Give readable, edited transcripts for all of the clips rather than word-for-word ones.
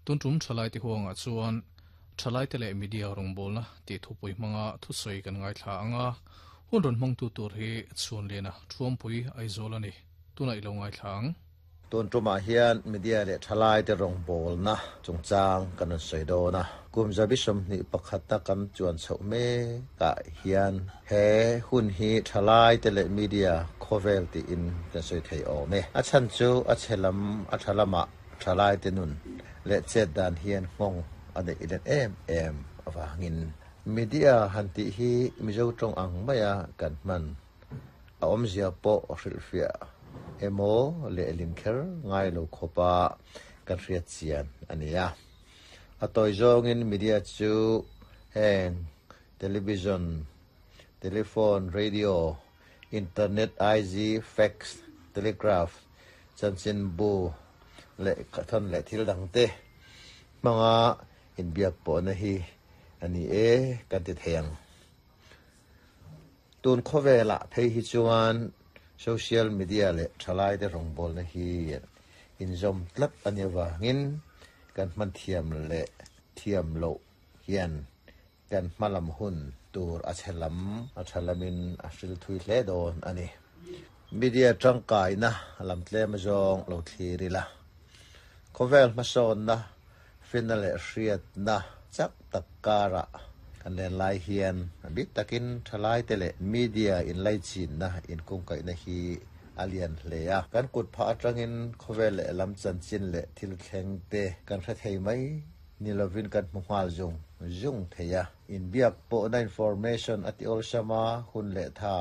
Tun tum thalaite huangah chuan thalaite leh media rawngbawlna tih thupui hmanga thusawi kan ngaithla ang a, hun rawn hmangtu tur hi Chhuanliana Thuampui Aizawl a ni. Tunah i lo ngaithla ang. Tun tumah hian media leh thalaite rawngbawlna chungchang kan rawn sawi dawn a. Kum zabi 21 a kan chuan chhoh mekah hian he hun hi thalaite leh media khawvel tiin kan sawi thei awm e. A chhan chu a chhe lam a tha lamah thalaite nun leh chet dan hian nghawng a neih let em em avangin. Media han tih hi Mizo tawng ang maia kan hman a awmzia pawh hrilhfiah emaw lehlin kher ngai lo khawpa kan hriat chian a ni a. A tawi zawngin media chu heng television, telephone, radio, internet, IG, fax, telegraph, chanchinbu leh thawn leh thil dangte hmanga inbiak pawhna hi a ni e kan ti thei ang. Tun khawvelah phei hi chuan social media leh thalaite rawngbawlna hi inzawm tlat a nih avangin kan hman thiam leh thiam loh hian kan hma lam hun tur a chhe lam a tha lamin a hril thui hle dawn a ni. Media tangkaina lam tlem zawng lo thlir ila, khawvel hmasawnna Finna leh hriatna chak tak karah kan len lai hian a bik takin thalaite leh media inlaichinna inkungkaihna hi a lian hle a. Kan kut phah atangin khawvel leh lam chanchin leh thil thleng te kan hre thei mai ni lovin kan hmu nghal zung zung thei a. Inbiak pawhna information a ti awlsam a, hun leh tha,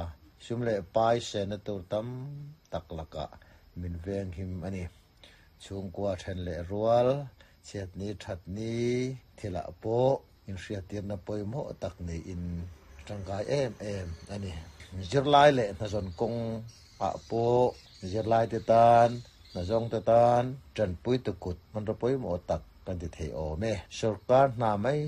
sum leh pai sehna tur tam tak lakah min venghim a ni. Chhungkua then leh rual, chhiatni thatni thilah pawh inhriattirna pawimawh tak niin a tangkai em em a ni. Zirlai leh hnazawn kawng ah pawh zirlaite tan, hnazawngte tan tanpuitu kut hmanraw pawimawh tak kan ti thei awm e. Sorkar hna mai.